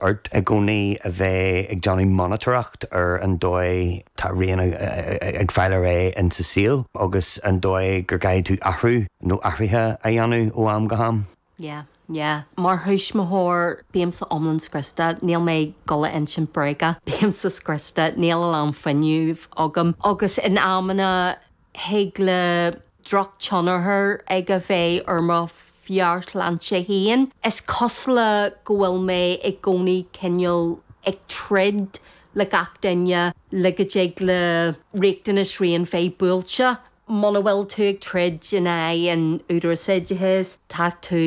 Ort i gcónaí a bheith ag déanamh monatóireacht ar an dóigh tá Rian ag fáil ar aghaidh in sa saol agus an dóigh go gcaithfidh tú athrú nó athruithe a dhéanamh ó am go ham. Yeah, yeah. Mar thuismitheoir, bímse iomlán scriosta. Níl mé ag dul a insint bréaga. Bímse scriosta. Níl a lán fuinnimh agam. Agus in amanna thig le drochthionchar aige bheith ar mo mheabhairshláinte féin. Is cosúil le go bhfuil mé i gcónaí cineál ag troid le gach duine le go dtig le riachtanais Rian bheith buailte. Muna bhfuil tú ag troid in aghaidh an Údarás Oideachais, tá tú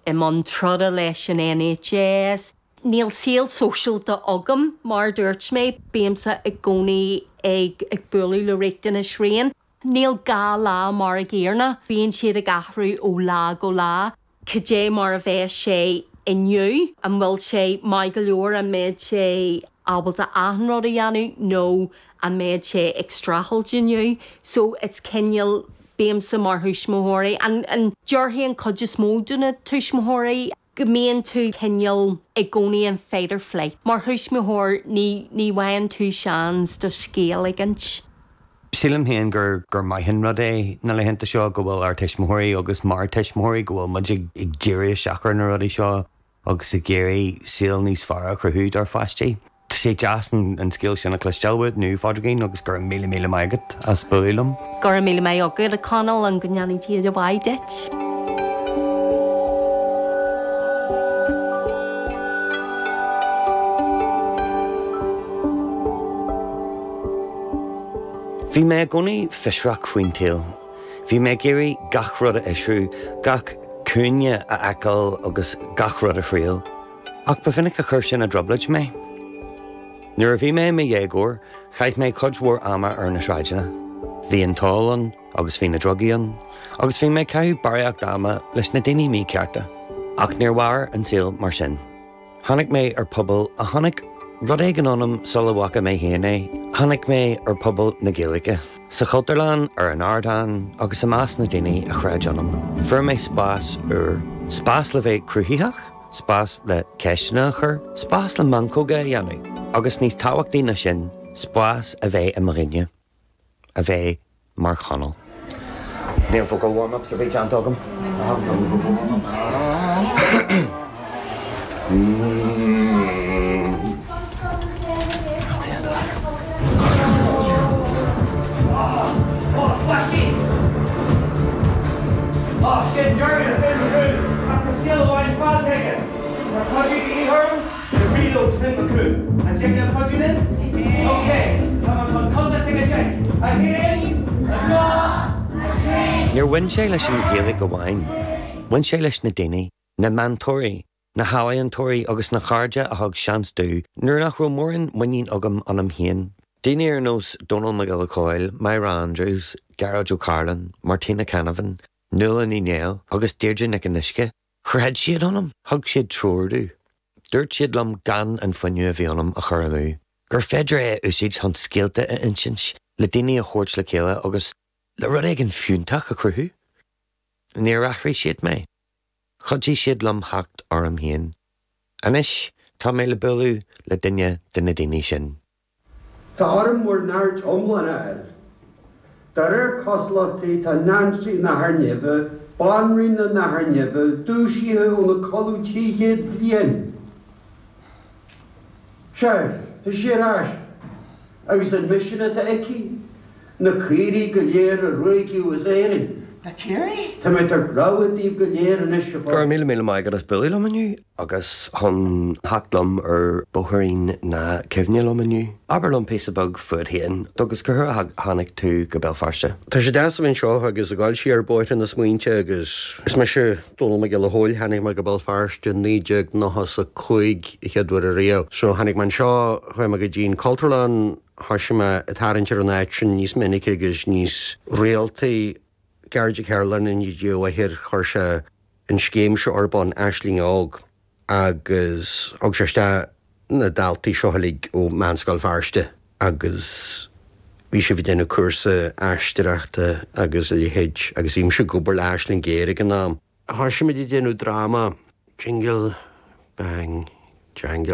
i mbun troda leis an NHS. Níl saol sóisialta agam, mar a dúirt mé, bímse i gcónaí ag bualadh le riachtanais Rian. Níl dhá lá mar a gcéanna, bíonn siad ag athrú ó lá go lá. Cad é mar a bheas sé inniu? An bhfuil sé maith go leor? An mbeidh sé ábalta achan rud a dhéanamh nó an mbeidh sé ag streachailt inniu? So it's cineál, bímse mar thuismitheoirí, and déarfainn an chuid is mó de na tuismitheoirí, go mbíonn tú cineál i gcónaí in fight or flight. Mar thuismitheoir ní ní bhfaigheann tú seans do scéal a insint. Sílim féin gur gur maith an rud é na laethanta seo go bhfuil ár tuismitheoirí agus mar tuismitheoirí go bhfuil muid ag ag díriú isteach ar na rudaí seo agus ag iarraidh saol níos fearr a chruthú dár pháistí. Tá sé deas an scéal sin a chloisteáil uait inniu, a Phádraigín, agus go raibh míle míle maith agat as bualadh liom. Go raibh míle maith agat, a Chonaill, and go ndéanfaidh Dia de mhaith duit. Bhí mé i gcónaí fiosrach faoin tsaol. Bhí mé ag iarraidh gach rud a fhiosrú, gach cúinne a fheiceáil agus gach rud a thriail. Ach ba mhinic a chuir sin i dtrioblóid mé. Nuair a bhí mé i mo dhéagóir, chaith mé cuid mhór ama ar na sráideanna. Bhí an t-ól ann agus bhí na drugaí ann, agus bhí mé ag caitheamh barraíocht ama leis na daoine míchearta. Ach níor mhair an saol mar sin. Tháinig mé ar pobal a chonaic rud éigin ionam sula bhfaca mé féin é. Tháinig mé ar pobal na Gaeilge. Sa Chultúrlann, ar an ardán, agus i measc na daoine a chreid ionam. Fuair mé spás úr. Spás le bheith cruthaitheach. Spás le ceisteanna a chur, spás le meancóga a dhéanamh, agus níos tábhachtaí ná sin, spás a bheith i mo dhuine. A bheith mar Chonall. Níl vocal warm-ups ar bith déanta agam. I haven't done the vocal warm-ups. That's the end of that. Níor bhain sé leis an Ghaeilge amháin, bhain sé leis na daoine, na meantóirí, na healaíontóirí agus na cairde a thug seans domh nuair nach raibh mórán muinín agam ionam féin. Daoine ar nós Dónall Mac Giolla Chóill, Myra Andrews, Gearóid Ó Cairealláin, Martina Canavan, Nuala Ní Néill agus Deirdre Nic an Uisce. Chreid siad ionam, thug siad treoir domh. Dúirt siad liom gan an fuinneamh a bhí ionam a chur amú, gur féidir é a úsáid chun scéalta a insint, le daoine a thabhairt le chéile agus le rud éigin fiúntach a chruthú. Níor athraigh siad mé. Chuidigh siad liom theacht orm féin. Anois tá mé le bualadh le duine de na daoine sin. Tá orm bhur n-aird iomlán a fháil. De réir cosúlachtaí tá Nancy Nathair Neimhe, Banríon na Nathair Neimhe, dúisithe óna codladh 300 bliain. Sea, tá sí ar ais. Agus an misean atá aici? Na caoirigh go léir a ruaigeadh as Éirinn. Na caoirigh? Tá mé ag tabhairt rabhadh daoibh go léir anois, a Go raibh míle míle maith agat as bualadh liom inniu agus chun theacht liom ar bhóithrín na cuimhne liom inniu. Abair liom píosa beag fút féin agus cá huair a tháinig tú go Béal Feirste? Tá sé deas a bheith anseo agus ag dul siar bóithre na smaointe agus is mise Dónall Mac Giolla Chóill, tháinig mé go Béal Feirste i 1995 a chéad uair ariamh. So tháinig mé anseo, chuaigh mé go dtí an Cultúrlann, thoisigh mé ag tarraingt ar an áit sin níos minice agus níos rialtaí. Gearóid Ó Cairealláin i ndiaidh a mháthair, chuir sé an scéim seo ar bun, Aisling Óg, agus thug sé isteach na daltaí seo uilig ó Mheánscoil Feirste agus bhí sibh ag déanamh cúrsa aisteoireachta agus a leithéid agus bhí mise ag obair le Aisling Ghéar ag an am. Thoisigh muid ag déanamh dráma, Jingle Bang. Teanga.